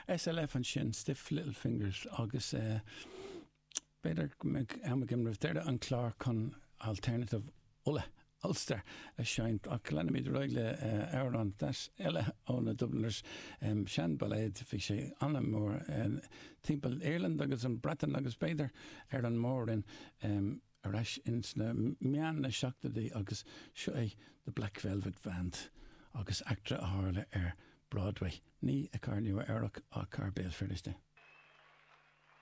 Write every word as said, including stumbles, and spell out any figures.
SLF ansin Stiff Little Fingers agus uh, b'fhéidir go mbeidh am agam roimh deireadh an clár chun Alternative Uladh Ulster a sheinnt ach leanfaimid ar aghaidh le uh, amhrán deas eile ó na Dubliners um, seanbhailéad bhí sé an-mhór um, timpeall Irland agus an Breatain agus b'fhéidir ar an mór-roinn um, ar ais ins na meán na seachtóidí agus seo é the Black Velvet Band agus eachtra a tharla ar Broadway. Ní i gCathair Nua Eabhrac ach Béal Feirste.